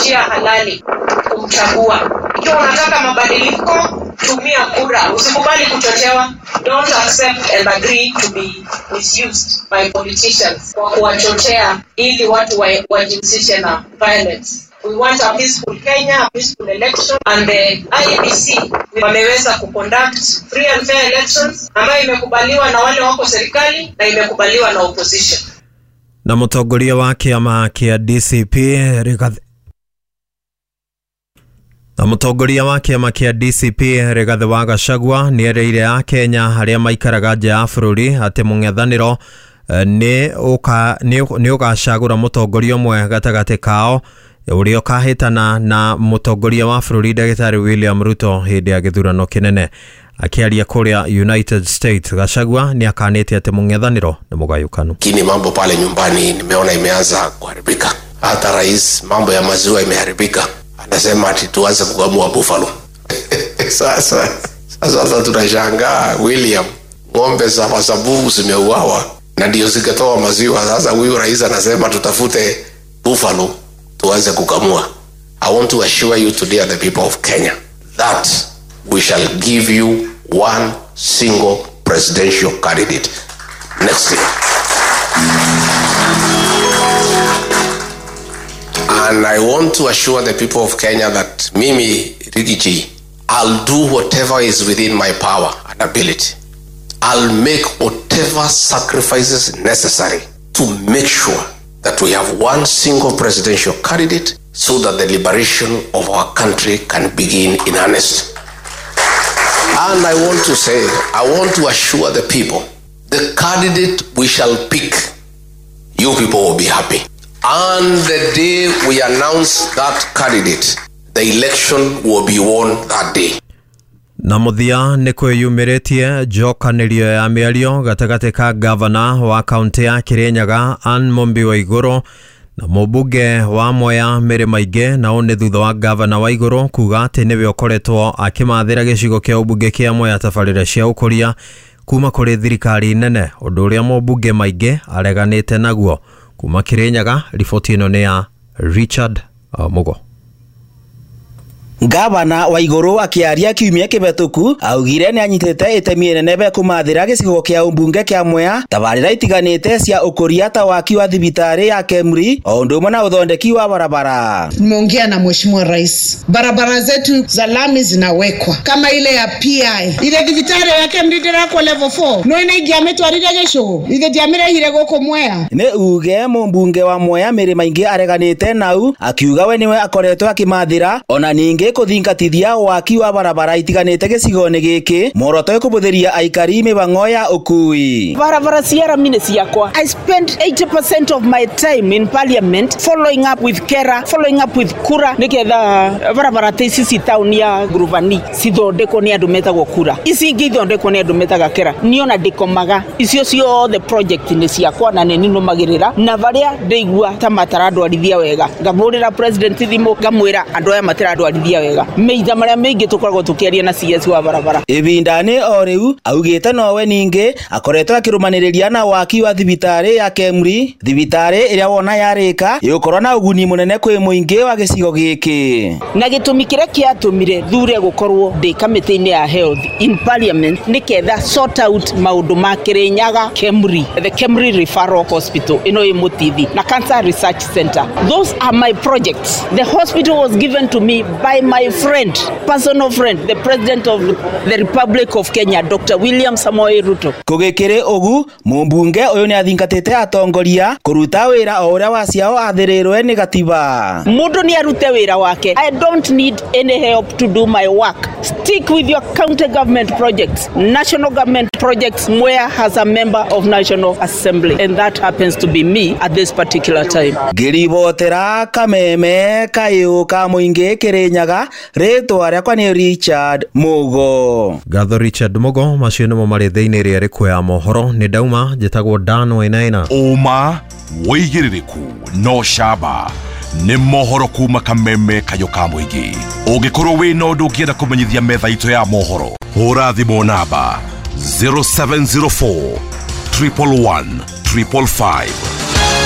Njia halali kumchagua. Ikiwa unataka mabadiliko, tumia kura, usikubali kuchochewa. Don't accept and agree to be misused by politicians kwa kuwachochea ili watu wajihusishe na violence. We want a peaceful Kenya, a peaceful election, and the IEBC wameweza kuconduct free and fair elections ambayo imekubaliwa na wale wako serikali na imekubaliwa na opposition. Na mũtongoria wa kĩama kĩa DCP Rigathi na mũtongoria wa kĩama kĩa DCP Rigathi wa Gachagua nĩereire akenya arĩa maikaraga nja ya bũrũri atĩ mũng'ethanĩro nĩ ũgacagũra mũtongoria ũmwe gatagatĩ kao ũrĩa ũkahĩtana na mũtongoria wa bũrũri ndagĩtarĩ William Ruto hĩndĩ ya gĩthurano kĩnene. Akĩaria kũrĩa United States, Gachagua nĩ akanĩte atĩ mũng'ethanĩro nĩ mũgayũkanu. Lakini mambo pale nyumbani nimeona imeanza kuharibika. Hata rais mambo ya maziwa imeharibika, anasema ati tuanze kukamua buffalo. Sasa tunashangaa William, ng'ombe za Masabu zimeuawa na ndio zikatoa maziwa. Sasa huyu rais anasema tutafute buffalo tuanze kukamua. I want to assure you today and the people of Kenya that we shall give you one single presidential candidate next year. And I want to assure the people of Kenya that Mimi Rigiji, I'll do whatever is within my power and ability. I'll make whatever sacrifices necessary to make sure that we have one single presidential candidate so that the liberation of our country can begin in earnest. And I want to say, I want to assure the people, the candidate we shall pick, you people will be happy. And the day we announce that candidate, the election will be won that day. Na mũthia nĩ kwĩyumĩrĩtie njokanĩrio ya mĩario gatagatĩ ka gavana wa kaunti ya Kirinyaga Anne Mumbi Waiguru na mũmbunge wa Mwea Mary Maingĩ, na ũũ nĩ thutha wa gavana Waiguru kuga atĩ nĩwe ũkoretwo akĩmathĩra gĩcigo kĩa ũmbunge kĩa Mwea tabarĩra cia ũkũria kuma kũrĩ thirikari nene, ũndũ ũrĩa mũmbunge Maingĩ areganĩte naguo. Kuma Kirinyaga, riboti ĩno nĩ ya Richard Mugo. Gavana Waiguru akiaria kiumia kĩhetũku augire nĩ anyitĩte itemi inene be kũmathĩra gĩcigo kĩa ũmbunge kĩa Mwea tabarĩra itiganĩte cia ũkũria ta waki wa thibitarĩ ya Kemri o ũndũ ũmwe na ũthondeki wa barabara. Nimeongea na Mheshimiwa Rais, barabara zetu za lami zinawekwa kama ile ya PI, ile thibitarĩ ya Kemri ndĩrakwo level 4 no ina ingĩamĩtwarire gĩcũgũ ithe ndiamĩrehire gũkũ Mwea. Nĩ uge mũmbunge wa Mwea Mary Maingĩ areganĩte nau akiuga we nĩwe akoretwo akĩmathĩra ona ningĩ kũthingatithia waki wa barabara itiganĩte gĩcigo-inĩ gĩkĩ muoroto kũbũthĩria aikari mĩhang'o ya ũkui. Barabara cia rami nĩ ciakwa. I spend 80% of my time in parliament following up with KERA, following up with KURA nĩgetha barabara ta ici ci town ya Ngurubani cithondekwo nĩ andũ metagwo KURA, ici ingĩ ithondekwo nĩ andũ metaga KERA. Niĩ ona ndĩkomaga, icio ciothe project nĩ ciakwa na nĩ ninũmagĩrĩra, na barĩa ndĩigua ta matarandwarithia wega ngahũrĩra president thimũ ngamwĩra andũ aya matirandwarithia wega meitha maria maingi tukoragwo tukiaria na CS wa barabara. Ibindani o riu augite nowe ningi akoretwo akirumaniriria na waki wa thibitari ya Kemri, thibitari iria wona yarika igukorwo na uguni munene kwi muingi wa gicigo giki. Na gitumi kiria kiatumire thure gukorwo ndi kamiti-ini ya health in parliament ni ketha sort out maundu ma Kirinyaga Kemri, the Kemri Referral Hospital ino i Mutithi na Cancer Research Center. Those are my projects. The hospital was given to me by my friend, personal friend, the President of the Republic of Kenya, Dr. William Samoei Ruto. Kugikiri ugu mumbunge uyu ni athingatite atongoria kuruta wira o uria waciao athirirwe ni gatiba. Mundu ni arute wira wake. I don't need any help to do my work. Stick with your county government projects, national government projects. Mwea has a member of National Assembly, and that happens to be me at this particular time. Ngiribotera kameme kayu ka muingi Kirinyaga, ritwa riakwa ni Richard Mugo. Gatho Richard Mugo, macio nimo mari thiini ria rikuo ya mohoro. Ni ndauma njitagwo Dan Wainaina. Uma wigiririku no shaba ni mohoro kuma kameme kayo ka muingi. Ungikorwo wina undu ungienda kumenyithia metha itu ya mohoro, hura thimu namba 0704 111 555.